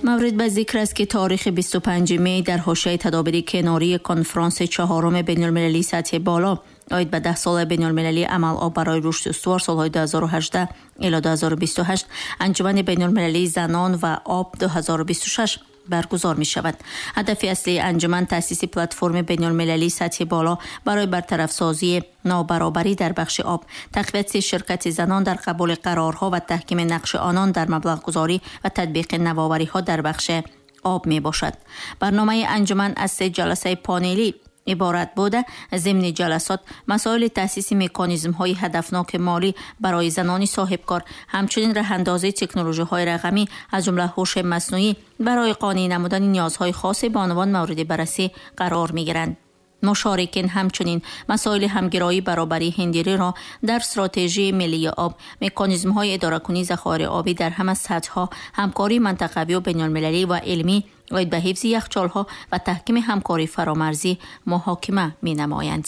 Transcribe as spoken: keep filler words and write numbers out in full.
مورد به ذکر است که تاریخ بیست و پنج می در حاشیه تدابیر کناری کنفرانس چهارم بین‌المللی سطح بالا عاید به ده سال بین‌المللی عمل آب برای رشد استوار سالهای دو هزار و هجده الی دو هزار و بیست و هشت انجمن بین‌المللی زنان و آب دو هزار و بیست و شش برگزار می شود. هدف اصلی انجمن تأسیس پلتفرم بین‌المللی سطح بالا برای برطرف سازی نابرابری در بخش آب، تقویت شرکت زنان در قبول قرارها و تحکیم نقش آنان در مبلغ گذاری و تطبیق نوآوری‌ها در بخش آب می باشد. برنامه انجمن از سه جلسه پانلی عبارت بوده. ضمن جلسات مسائل تأسیس مکانیزم‌های هدفناک مالی برای زنان صاحبکار، همچنین راه اندازی تکنولوژی‌های رقمی از جمله هوش مصنوعی برای قانع نمودن نیازهای خاص بانوان مورد بررسی قرار می‌گیرند. مشارکین همچنین مسائل همگرایی برابری هندیری را در استراتژی ملی آب، مکانیزم‌های اداره‌کنی ذخایر آبی در همه سطح‌ها، همکاری منطقوی و بین‌المللی و علمی عاید به حفظ یخچال‌ها و تحکیم همکاری فرامرزی محاکمه می‌نمایند.